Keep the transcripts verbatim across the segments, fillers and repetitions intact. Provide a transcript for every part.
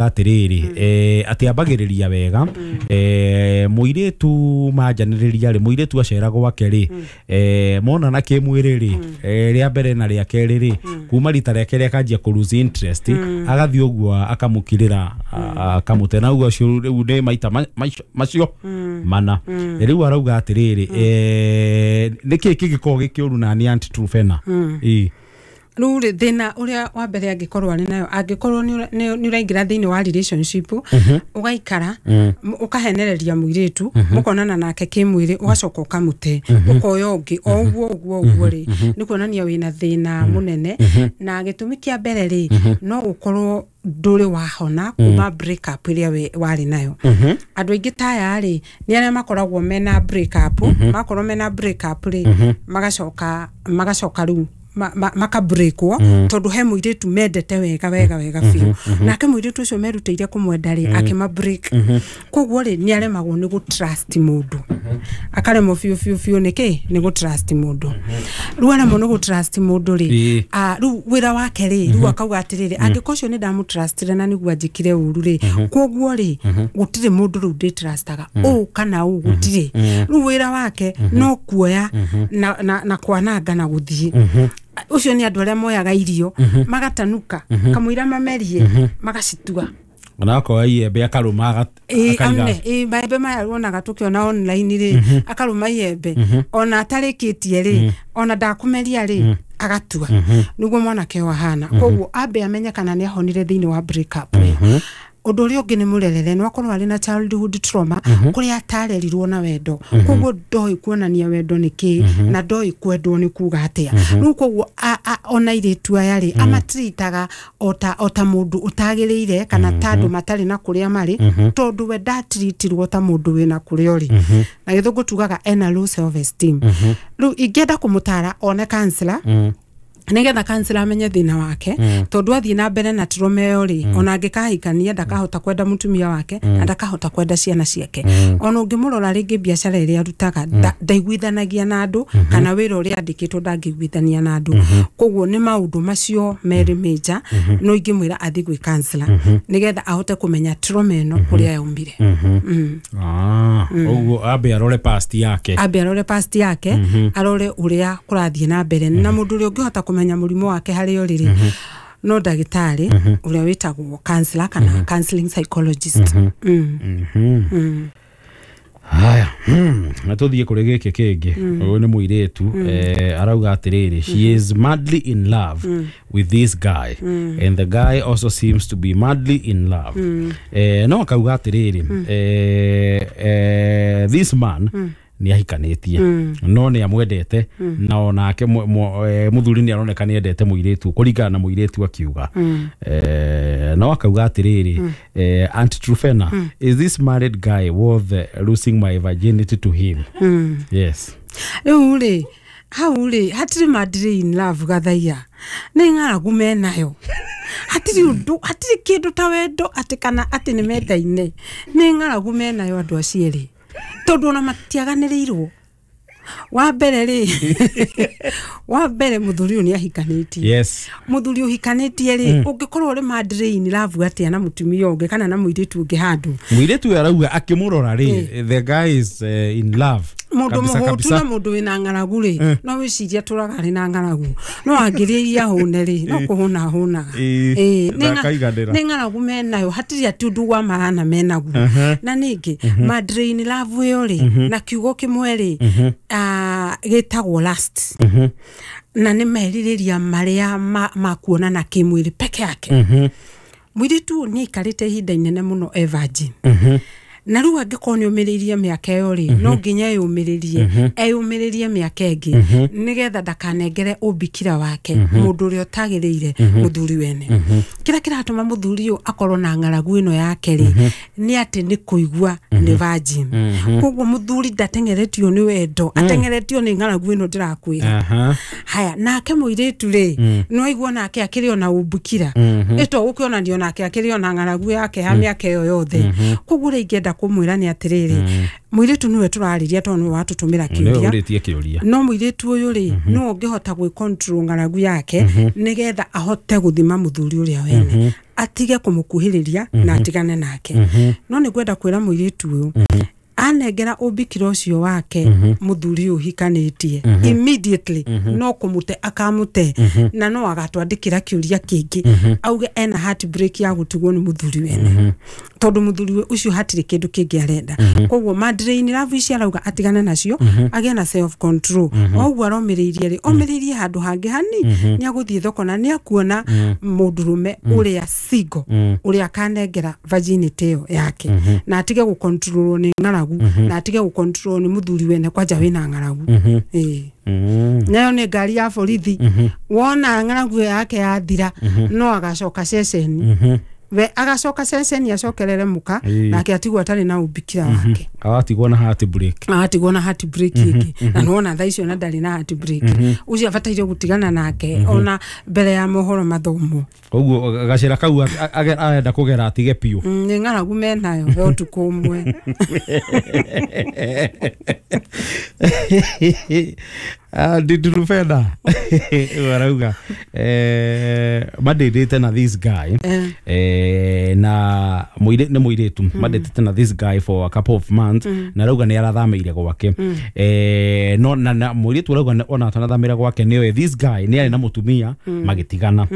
Atĩrĩrĩ, eh, atĩ ambagĩrĩria wega, eh, mũirĩtu manjanĩrĩria rĩ, mũirĩtu acera gwake rĩ, eh, monana kĩmwĩrĩ rĩ, eh, rĩa mbere na rĩa kerĩ rĩ, kuma rita rĩa kerĩ akanjia kũ lose interest, agathiĩ ũguo akamũkirĩra, a- akamũte na ũguo ũcio rĩu nĩ maita ma- macio- macio mana. Rĩu arauga atĩrĩrĩ, eh, nĩkĩĩ kĩngĩkorwo gĩkĩũru na nĩ Aunty Truphena? Ĩĩ. Rĩu rĩ, thĩna ũrĩa wa mbere angĩkorwo arĩ nayo, angĩkorwo nĩ ũra- nĩ nĩ ũraingĩra thĩinĩ wa relationship, ũgaikara, m- ũkahenereria mũirĩtu, mũkonana nake kĩmwĩrĩ, ũgacoka ũkamũte, ũkoya ũngĩ, o ũguo ũguo ũguo rĩ, nĩ kuonania wĩna thĩna mũnene. Na gĩtũmi kĩa mbere rĩ, no gũkorwo ndũrĩ wahona kuma break up ĩrĩa we- warĩ nayo. Andũ aingĩ ta aya rĩ, nĩ arĩa makoragwo mena break up, makorwo mena break up rĩ, magacoka magacoka rĩu ma- ma- makabreakwo, tondũ he mũirĩtu mendete wega wega wega biũ, nake mũirĩtu ũcio merutĩire kũmwenda rĩ, akĩma break. Koguo rĩ, nĩ aremagwo nĩ gũ trust mũndũ, akaremwo biũ biũ biũ. Nĩkĩ nĩ gũ trust mũndũ? Rĩu aremwo nĩ gũ trust mũndũ rĩ, Ĩĩ. ah, rĩu wĩra wake rĩ, rĩu akauga atĩrĩrĩ, angĩkorwo ũcio nĩ ndamũtrustire na nĩguo anjĩkire ũru rĩ, koguo rĩ, gũtirĩ mũndũ rĩu ndĩtrustaga ũũ kana ũũ, gũtirĩ. Rĩu wĩra wake no kuoya na, na, na kwananga na gũthiĩ. Ũcio nĩ andũ arĩa moyaga irio magatanuka kamũira mamerie magacitua. Onakorwo iembe akarũma aga- Ĩĩ, akaiga. Amne, ĩĩ, maembe maya wonaga tũkĩona online rĩ, akarũma iembe ona atarĩkĩtie rĩ, ona ndakũmeria rĩ, agatua. Nĩguo mwanake ũyũ ahana. Koguo ambe amenye kana nĩ ahonire thĩinĩ wa break up ĩyo. Ũndũ ũrĩa ũngĩ nĩ mũrerere, no akorwo arĩ na childhood trauma kũrĩa atarerirwo na wendo, koguo ndoĩ kuonania wendo nĩ kĩ na ndoĩ kwendwo nĩ kuga atĩa. Rĩu koguo a- a- ona airĩtu aya rĩ, amatritaga ota ota mũndũ ũtagĩrĩire kana ta andũ matarĩ na kũrĩa marĩ, tondũ we ndatiritirwo ta mũndũ wĩna kũrĩa ũrĩ. Na Gĩthũngũ tugaga ena low self esteem. Rĩu ingĩenda kũmũtara one counselor, nigetha counselor amenye thĩna wake, tondũ athiĩ na mbere na trauma ĩyo rĩ, ona angĩkahikania ndakahota kwenda mũtumia wake na ndakahota kwenda ciana ciake. Ona ũngĩmũrora rĩngĩ, biacara ĩrĩa arutaga nda- ndaiguithanagia na andũ, kana wĩra ũrĩa andĩkĩtwo ndangĩiguithania na andũ. Koguo nĩ maũndũ macio merĩ major no ingĩmwĩra athiĩ gwĩ counselor, nĩgetha ahote kũmenya trauma ĩno kũrĩa yaumire. Mm. Ah, ũguo ambe arore past yake. Ambe arore past yake, arore ũrĩa kũrathiĩ na mbere. Na mũndũ ũrĩa ũngĩhota kũmenya mũrimũ wake harĩa ũrĩ rĩ, no ndagĩtarĩ ũrĩa wĩtagwo counselor kana counseling psychologist. Mm. Haya, hmm, na tũthiĩ kũrĩ gĩkĩ kĩngĩ. Ũyũ nĩ mũirĩtu, eh, arauga atĩrĩrĩ, she is madly in love with this guy and the guy also seems to be madly in love. eh, no akauga atĩrĩrĩ, eh, eh, this man nĩ ahikanĩtie no nĩ amwendete, na onake mũ- mũ- eh, mũthuri nĩ aroneka nĩ endete mũirĩtu kũringana na mũirĩtu akiuga. eh, no akauga atĩrĩrĩ, eh, "Aunt Truphena, is this married guy worth eh, losing my virginity to him?" Yes. Rĩu rĩ, hau rĩ, hatirĩ madly in love. Gathaiya nĩ ng'aragu menayo. Hatirĩ ũndũ, hatirĩ kĩndũ ta wendo atĩ kana atĩ nĩ mendaine. Nĩ ng'aragu menayo andũ acio erĩ, tondũ ona matiaganĩrĩirwo. Wa mbere rĩ, wa mbere mũthuri ũyũ nĩ ahikanĩtie. Yes Mũthuri ũhikanĩtie rĩ, ũngĩkorwo ũrĩ madly in love atĩa na mũtumia ũngĩ kana na mũirĩtu ũngĩ handũ? Mũirĩtu ũyũ arauga akĩmũrora rĩ, the guy is uh, in love. Mũndũ Kabisa, mũhũtu kabisa. na mũndũ wĩna ng'aragu rĩ, no wĩcirie atũraga arĩ na ng'aragu, no angĩrĩa iria hũne rĩ, no kũhũna ahũnaga. Ĩĩ, Ĩĩ, nĩ ng'a- ndakaiganĩra. Nĩ ng'aragu menayo, hatirĩ atĩ ũndũ wa maana menaguo. Na ningĩ madly in love ĩyo rĩ, na kiugo kĩmwe rĩ, ah, gĩtagwo lust, na nĩ merirĩria marĩa ma, ma kuonana kĩmwĩrĩ peke yake. Mũirĩtu ũyũ nĩ aikarĩte ihinda inene mũno e virgin, na rĩu angĩkorwo nĩ ũmĩrĩirie mĩaka ĩyo rĩ, no nginya eyũmĩrĩrie eyũmĩrĩrie mĩaka ĩngĩ, nĩgetha ndakanengere ũmbikira wake mũndũ ũrĩa ũtagĩrĩire, mũthuri wene. Kĩrĩa kĩratũma mũthuri ũyũ akorwo na ng'aragu ĩno yake rĩ, nĩ atĩ nĩ kũigua nĩ virgin. Koguo mũthuri ndateng'eretio nĩ wendo, ateng'eretio nĩ ng'aragu ĩno ndĩrakwĩra. Aha. Haya, nake mũirĩtu rĩ, no aigua nake akĩrĩ ona ũmbukira ĩto gũkĩonanio nake akĩrĩ ona ng'aragu yake ya mĩaka ĩyo yothe. Koguo ũrĩa ingĩenda kũmwĩra nĩ atĩrĩrĩ, mũirĩtu nĩwe tũrarĩria tondũ nĩwe watũtũmĩra nĩwe kĩũria. Ũrĩtie kĩũria. No mũirĩtu ũyũ rĩ, no ũngĩhota gwĩ control ng'aragu yake, nĩgetha ahote gũthima mũthuri ũrĩa wene. Atige kũmũkuhĩrĩria na atigane nake. No nĩ ngwenda kwĩra mũirĩtu ũyũ, anengera ũmbikira ũcio wake mũthuri ũyũ ũhikanĩtie, immediately no kũmũte akamũte, na no agatwandĩkĩra kĩũria kĩngĩ auge ena heartbreak ya gũtigwo nĩ mũthuri wene, tondũ mũthuri ũcio hatirĩ kĩndũ kĩngĩ arenda. Koguo madrein love ici arauga atigane nacio, agĩe na self control. O ũguo aromĩrĩirie rĩ, omĩrĩirie handũ hangĩ hani nĩ agũthiĩ thoko na nĩ akuona mũndũrũme ũrĩa single ũrĩa akanengera virginity ĩyo yake, na atige gũkontrolwo nĩ ng'aragu, na atige gũkontrolwo nĩ mũthuri wene kwanja wĩna ng'aragu. Ĩĩ, nayo nĩ ngari ya borithi. Wona ng'aragu ĩyo yake yathira, no agacoka ceceni, we agacoka ceceni acokerere mũka. Ĩĩ. Nake atigwo atarĩ na ũmbikira wake. Agatigwo na heartbreak. Agatigwo na heartbreak ĩngĩ, na nĩwona thaa icio na ndarĩ na heartbreak. Ũcio abataire gũtigana nake ona mbere ya mohoro mathomwo. Koguo gacĩra kau a- a- arenda kũgera atige biũ. Mm, nĩ ng'aragu menayo ya ũtukũ ũmwe. Ndindirubena arauga eh, mandĩndĩte na this guy. Eh. eh, na mũirĩ nĩ mũirĩtu mandĩtĩte na this guy for a couple of months, na arauga nĩ arathamĩire gwake, eh, no na, na mũirĩtu arauga nĩ- ona atanathamĩra gwake nĩoĩ this guy nĩ arĩ na mũtumia magĩtigana.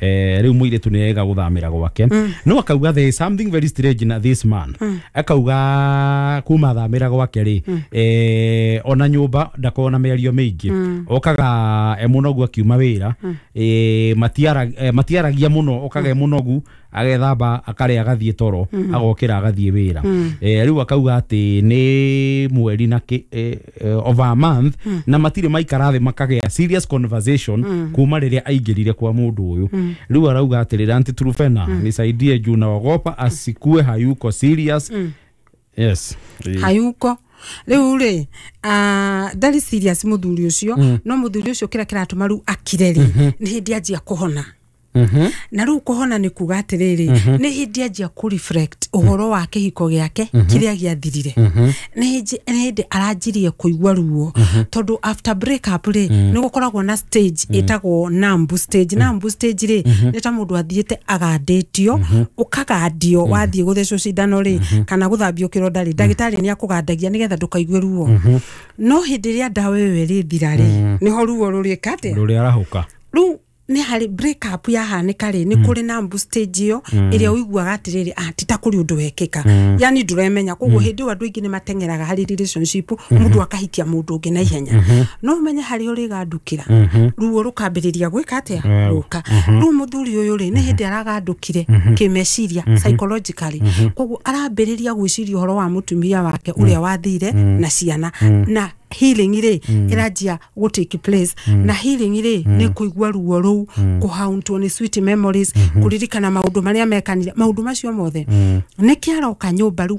eh, rĩu mũirĩtu nĩ ega gũthamĩra gwake, no akauga there is something very strange na this man. Akauga kuma athamĩra gwake rĩ, eh, ona nyũmba ndakoragwo na mĩario mĩingĩ, okaga e mũnogu akiuma wĩra, eh, matiara- eh, matiaragia mũno, okaga e mũnogu, agethamba, akarĩa, agathiĩ toro, agokĩra, agathiĩ wĩra. Eh, rĩu akauga atĩ nĩ mweri na kĩ- eh, eh, over a month na matirĩ maikara thĩ makagĩa serious conversation kuma rĩrĩa aingĩrire kwa mũndũ ũyũ. Rĩu arauga atĩrĩrĩ, "Auntie Trufena, nisaidie juu naogopa asikue hayuko serious." Yes. Hayuko rĩu rĩ, ah, ndarĩ serious mũthuri ũcio. No mũthuri ũcio kĩrĩa kĩratũma rĩu akire rĩ, nĩ hĩndĩ anjia kũhona. Mhm. Na rĩu kũhona nĩ kuga atĩrĩrĩ, nĩ hĩndĩ anjia kũ reflect ũhoro wa kĩhiko gĩake kĩrĩa gĩathirire. Nĩ hĩndĩ nĩ hĩndĩ aranjirie kũigua ruo, tondũ after break up rĩ, nĩ gũkoragwo na stage ĩtagwo numb stage. Numb stage rĩ, nĩ ta mũndũ athiĩte agandĩtio, ũkagandio, wathiĩ gũthecwo cindano rĩ, kana gũthambio kĩronda rĩ, ndagĩtarĩ nĩ akũgandagia nĩgetha ndũkaigue ruo. No hĩndĩ ĩrĩa ndawa ĩyo ĩrĩthira rĩ, nĩho ruo rũrĩka atĩa? Rũrĩa arahũka. Rĩu nĩ harĩ break up yahanĩka rĩ, nĩ kũrĩ numb stage ĩyo ĩrĩa ũiguaga atĩrĩrĩ, ah, ti ta kũrĩ ũndũ wekĩka, yani ndũremenya. Koguo hĩndĩ ĩyo andũ aingĩ nĩ mateng'eraga harĩ relationship, mũndũ akahikia mũndũ ũngĩ na ihenya. No ũmenye harĩa ũrĩgandũkĩra, ruo rũkambĩrĩria gwĩka atĩa? Yeah. Gũka. Rĩu mũthuri ũyũ rĩ, nĩ hĩndĩ aragandũkire kĩmeciria, psychologically. Koguo arambĩrĩria gwĩciria ũhoro wa mũtumia wake ũrĩa wathire na ciana, na healing rĩ ĩranjia gũ take place. Na healing rĩ, nĩ kũigua ruo rũu, kũhauntwo nĩ sweet memories, kũririkana maũndũ marĩa mekanire, maũndũ macio mothe. Nĩkĩ aroka nyũmba rĩu?